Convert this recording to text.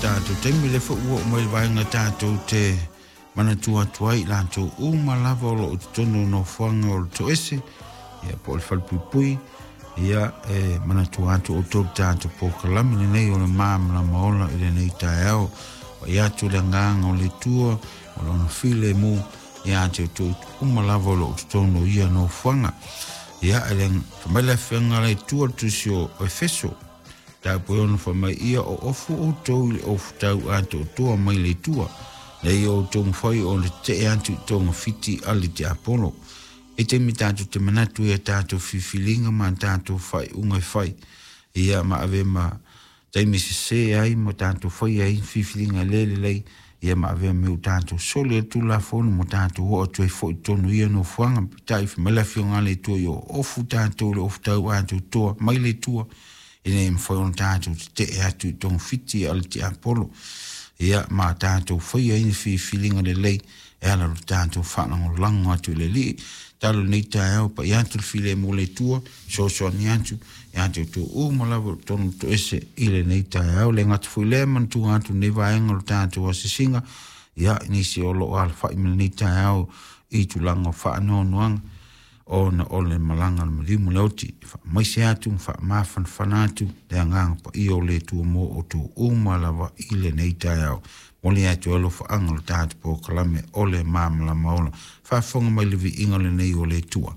Tatou taimi le foi ua oo mai le vaega tatou te manatua atu ai i latou uma lava o loo i totonu o nofoaga o le toese ia po o le falepuipui ia e manatua atu outou le tatou polokalame lenei o le Malamalama Ola i lenei taeao. Pai atu le agaga o le Atua o lona filemu ia te outou uma lava o loo i totonu o ia nofoaga. Ia e le fai mai le afioga a le Atua le tusi o Efeso Tau ona fai mai ia o ofu outou i le ofu tau atoatoa mai le Atua, ina ia outou mafai ona tetee atu i togafiti a le tiapolo. E taimi tatou te manatu i a tatou filifiliga ma a tatou faaiuga e fai, ia ma ave ma taimi sese ai ma tatou faia ai filifiliga le lelei, ia ma avea mea ua tatou soli ai le Tulafono ma tatou oo atu ai foi i totonu o ia nofoaga. Peitai, fai mai le Afioga a le Atua, ia ofu tatou i le ofu tau atoatoa mai le Atua, ina ia mafai ona tatou tetee atu i togafiti a le tiapolo, ia ma tatou faia ai ni filifiliga lelei e ala i lo tatou faalagolago atu i le Alii. Talo lenei taeao, pai atu le filemu o le Atua, fesoasoani atu ia te outou uma lava o totonu o toese i lenei taeao. Le gata foi lea, manatua atu lenei vaega o le tatou asiasiga, ia nisi o loo alafai mai lenei taeao i tulaga o faanoanoaga ona o le malaga a le maliu ma le oti, e faamaise atu ma faamafanafana atu le agaga paia o le Atua mo outou uma lava i lenei taeao. Momoli atu ai alofaaga o le tatou polokalame o le Malamalama Ola. Faafofoga mai le viiga lenei o le Atua.